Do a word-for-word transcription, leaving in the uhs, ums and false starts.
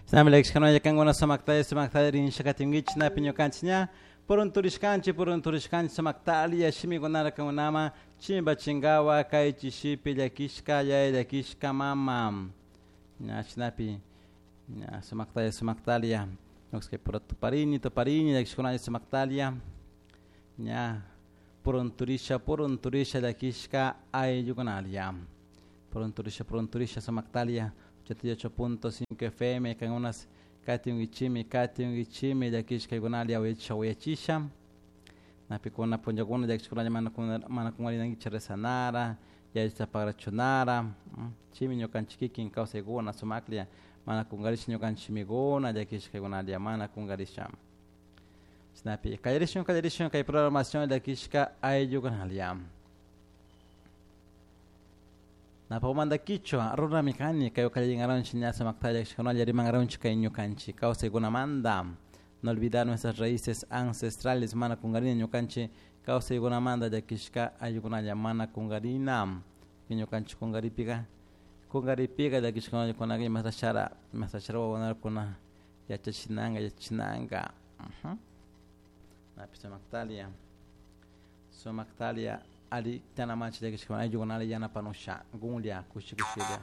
Shinami llakishkanalla kankuna sumaktalla sumaktalla rinshakatinkichik napi ñukanchik ña purunturishkanchik purunturishkanchik sumaktalia shimikunara kankunaman chimpachinkawa kay chishipi llakishka yaya llakishka mama ña shinapi ña sumaktalla sumaktalia ñuka pura tuparini tuparini llakishkunalla sumaktalia ña purunturisha purunturisha llakishka ayllukunalia purunturisha purunturisha sumaktalia ochenta y ocho punto cinco F M kankunas katinkichimi katinkichimi llakishkaykunalia uyachisha uyachisha napikuna punllakuna llakishkunalla mana mana kungarinankichik rezanara yachita pagrachunara chimi ñukanchik kikin kawsaykuna sumaklla mana kungarisha ñukanchik shimikuna llakishkaykunalia mana kungarisha chashnapi kallarishun kallarishun kay programación llakishka ayllukunalia Napamanta kichwa runami kani kay kallingaronchik ña sumakta llakishkunalla rimankaronchik kay ñukanchik kawsaykunamanta no olvidar nuestras raíces ancestrales mana kungarina ñukanchik kawsaykunamanta llakishka ayllukunalla mana kungarina ñukanchik kungaripika kungaripika llakishkunalla kunaka imasashara imasashara wawakunakuna yachachinanka yachachinanka napi sumaktalia sumaktalia ali tanamanchik llakishkuna ayllukunalla yanapanusha gunlla kushi kushilla.